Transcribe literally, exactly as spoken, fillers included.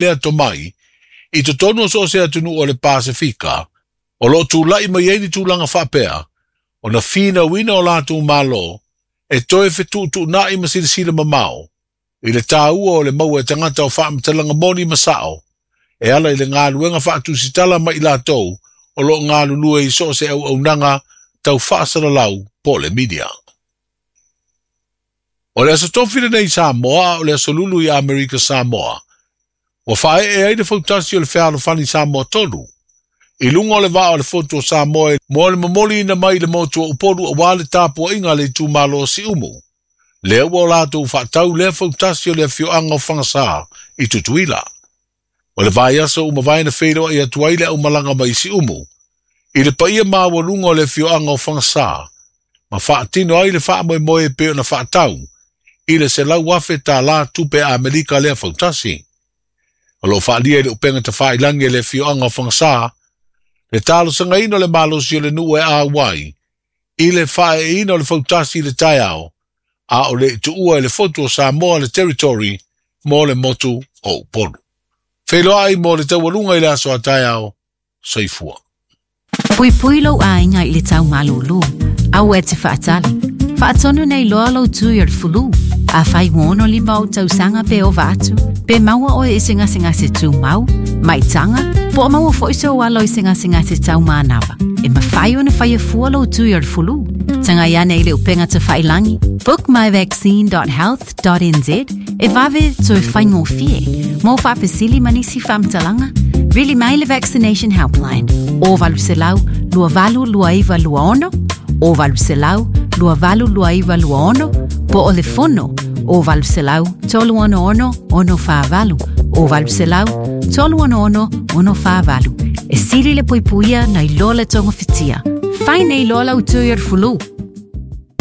Lea tomai i totonu o so o se atunuu o le Pasefika o lo o tulai mai ai ni tulaga faapea ona finauina o latou malo e toe fetuutuunai ma silasila mamao i le taua o le maua e tagata o faamatalaga moni ma sao e ala i le galuega faatusitala ma i latou o lo o galulue i so o se auaunaga tau faasalalau po o le media. O le aso tofi lenei i Samoa a o le aso Lulu i Amerika Samoa, ua faaee ai le fautasi o le fealofani Samoa tolu i luga o le vaa o le Fotu o Samoa mo le momoliina mai i le motu o Upolu aua le tapuaiga a le itumalo o Siumu. Lea ua o latou faatau lea fautasi o le afioaga o Fagasa i Tutuila. O le vaiaso ua mavae na feiloai atu ai le aumalaga mai Siumu i le paia maualuga o le afioaga o Fagasa ma faatino ai le faamoemoe e pei ona faatau i le selau afe tala tupe Amerika lea fautasi. O lo o faaalia i le upega tafailagi e le afioaga o Fagasa le talosagaina o le malosi o le nuu e auai i le faaeeina o le fautasi i le taeao a o le i tuua e le Fotu o Samoa le territory mo le motu o Upolu. Feiloai mo le taualuga i le aso a taeao. Soifua. Puipui lou aiga i le tau malūlū. Aua e te faatali. Faatonu nei loa lou tui o le fulu. Afai ua ono lima ou tausaga pe ova atu, pe maua oe i se gasegase tumau, maitaga, po o maua foi sou alo i se gasegase taumanava, e mafai ona faia fua lou tui o le fulu. Tagai ane i le upega tafailagi bookmyvaccine dot health dot n z e vave toe faigofie. Mo faafesili ma nisi faamatalaga, vili mai le Vaccination Helpline o valu selau lua valu lua iva lua ono, o valu selau lua valu lua iva lua ono, po o le fono o valu selau tolu ono ono ono fa valu, o valu selau tolu ono ono ono fa valu. E sili le puipuia nai lo le togafitia. Fai nei loa lau tui o le fulu.